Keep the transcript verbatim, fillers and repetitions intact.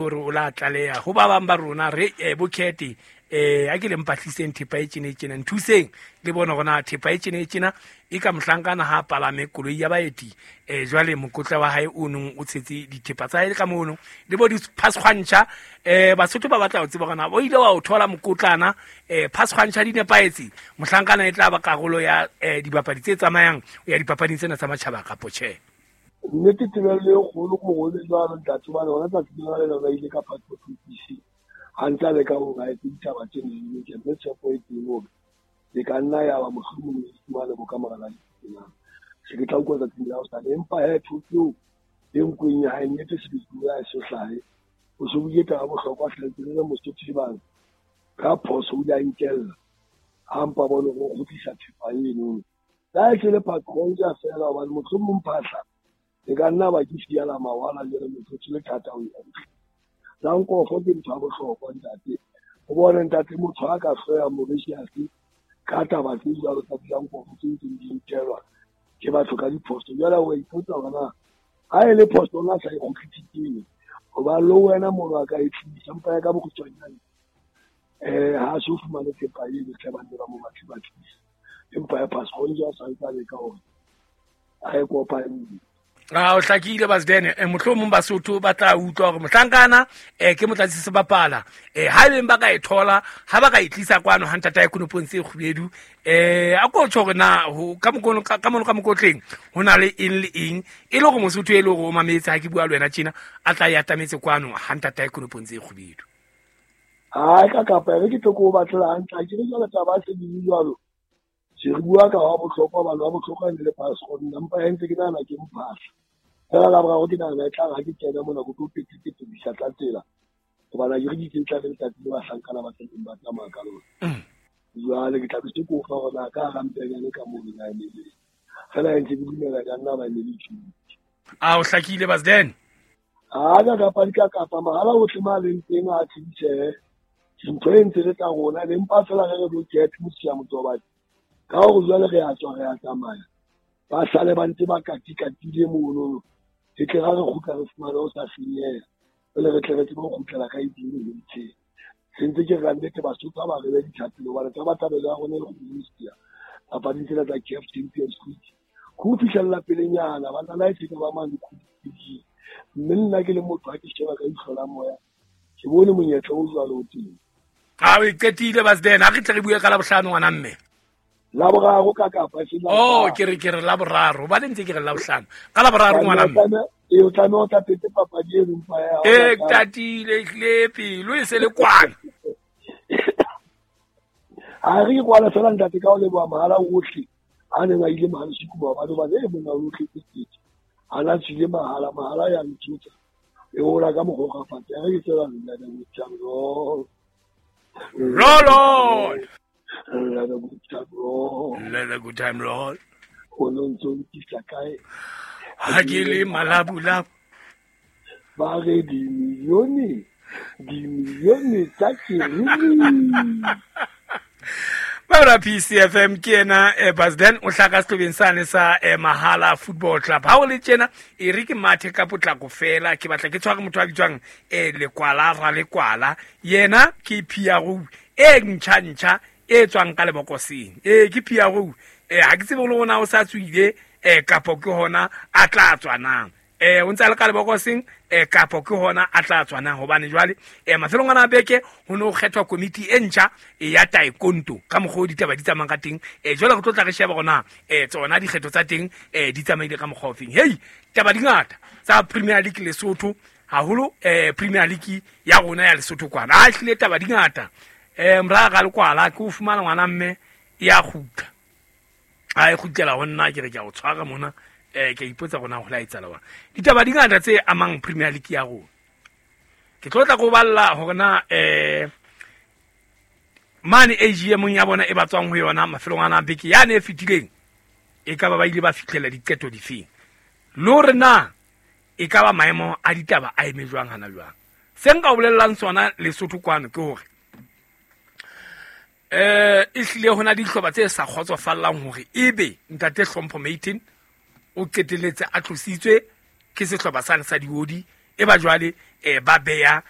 Hore o la tlaleha ho ba bang ba rona re eh, bokete eh a ke le mpatliseng thepa e tjena e tjena, nthuseng le bone hore na thepa e tjena e tjena e ka mohlankana ha palame koloi ya baeti. eh Jwale mokotla wa hae o nong o tshetse dithepa tsa hae ka mono le bo diphasgwantjha. eh Basotho ba batla ho tseba hore na o ile wa o thola mokotlana eh phasgwantjha di nepahetse, mohlankana e tla ba karolo ya eh dibapadi tse tsamayang ya dipapading tsena tsa matjhaba kapo tjhe. Nnete tebello e kgolo ko go le jwalo ntate, hobane hona tsatsi lena le lona ile ka passport office ha ntse a leka hore a etse ditaba tse neng ke mme tshepo e teng hore e ka nna ya ba mohlomong e fumane bo ka mora la ditsena. Se ke tla utlwa tsatsing la hosane, empa he thoto eo e nkweng ya hae nnete sebetsi ya e so hlahe. O so buile taba bohlokwa hle le Mosotho e bang ka phoso o ile a nkella ha mpa bone hore o kgutlisa thepa eno. La e tle le patronja fela hobane mohlomong phahla e ka nna ba ke fiela mawala jwale motho le thata ho e la nkofo ke ntho ya bohlokwa ntate. O bone ntate motho a ka hloya Mauritius ka taba tse jwalo tsa dilankofo tse ntseng di nkelwa ke batho ka diphoso. Jwale o ipotsa hore na ha e le phoso ona sa e kgutlisitseng hoba le wena mono a ka e tlisa mpa ya ka bokgutshwanyane eh ha so fumane thepa eno tle ba nne ba mo batle ba tlisa, empa ya passport ja sa ntse a leka hore a e kopanye. A o hlakile Basden, eh mohlomong Basotho ba tla utlwa hore mohlankana eh ke motlatsi sebapala eh ha ebeng ba ka e thola ha ba ka e tlisa kwano ha ntata ya konopong tse kgubedu eh a ko tjho hore na ho ka mokono ka mono ka mokotleng ho na le eng le eng e le hore Mosotho e le hore o mametse ha ke bua le wena tjena a tla ya atametse kwano ha ntata ya konopong tse kgubedu. Ha ka kapa re ke tlo go batlela hantle ha ke re jwale taba se di jwalo. Se re bua ka wa bohlokwa ba wa bohlokwa le passport nna mpa ntse ke nahana ke mphahla. Fela la boraro ke nahana e tla re ha ke kena mona ko tlo petepete bisa tla tsela hobane ha ke re di tse tla re letsatsi le bahlankana ba tleng ba tsamaya ka lona. Jwale ke tla be se ko fa hore na ka hara mpenyane ka mono na e le fela ntse ke dumela ka nna ba ne le tjhutse. A o hlakile Basden? Ha ka kapa di ka kapa mahala ohle ma leng teng a tsheditsehe dintho e ntse le tsa rona le mpa fela re re bo get mosia motobadi ka hore jwale re a tswa re a tsamaya ba sale ba ntse ba katikatile mono e tle ra re kgutla re fumane ho sa senyeha jwale re tle re tsebe ho kgutlela ka edimo le ntsheng se ntse ke re nnete Basotho ba re be ditlhapelo hobane tabatabelo ya rona e kgolo papading tsena tsa C A F Champions League ho fihlella pelenyana ba nna e ka ba mane khutsi mme nna ke le motho ha ke sheba ka ihlo la moya ke bone monyetla o jwalo o teng. A o qetile Basden, ha re tle re bue ka la bohlano ngwana mme. La boraro ka kapa se la. Oh ke re ke re la boraro ba ntse ke re la bohlano ka la boraro ngwana mme. E o tlameha o tla pete papadi e mpa ya. E tatile hle pelo e se le kwana. Ha re kwala fela ntate ka o leboha mahala ohle a neng a ile mahala sikuba ba ba e mona o tletse tsetse. A la tsile mahala mahala ya ntshutsa. E ola ka mogoga fatshe re ke tsela nna le motjang. Roll on. Let a good time roll. Let a good time roll. O no ntso ntisa kae? Ha ke le malabulabu. Ba re dimilione, dimilione tsa kerimi. Ba P C F M ke ena eh, Basden o hlaka sehlobeng sane sa eh, Mahala Football Club. Ha o le tjena e re ke mathe ka potlako fela ke batla ke tshware motho a bitswang eh, Lekwala ra Lekwala. Yena ke P R O e ntjha ntjha e tswang ka lebokoseng. E ke P R O eh ha ke tsebe le hona o sa tswile eh kapo ke hona a tla tswanang. Eh o ntse le ka lebokoseng eh kapo ke hona a tla tswanang hobane jwale eh mafelong ana beke ho no kgethwa komiti e ntjha ya taekwondo ka mokgwa o ditaba di tsamayang ka teng. Eh jwale re tlo tla re sheba hona eh tsona dikgetho tsa teng eh di tsamaile ka mokgwa ofeng. Hey taba di ngata tsa Premier League Lesotho haholo eh Premier League ya rona ya Lesotho kwana. A hlile taba di ngata. Eh mra ga lekwala ke o fumana ngwana mme ya kgutla. A e kgutlela ho nna ke re ke a o tshwara mona eh ke ipotsa rona ho la etsala wa. Ditaba di ngata tse amang Premier League ya rona. Ke tlo tla go balla hore na eh mane A G M ya bona e batswang ho yona mafelong ana beke ya ne e fetileng e ka ba ba ile ba fihlela diqeto difeng. Le hore na e ka ba maemo a ditaba a eme jwang hana jwang. Se nka o bolellang sona Lesotho kwano ke hore eh e hlile hona dihlopha tse sa kgotsofallang hore ebe ntate Hlompho Maiten o qetelletse a tlositswe ke sehlopha sane sa diodi e ba jwale eh ba beya.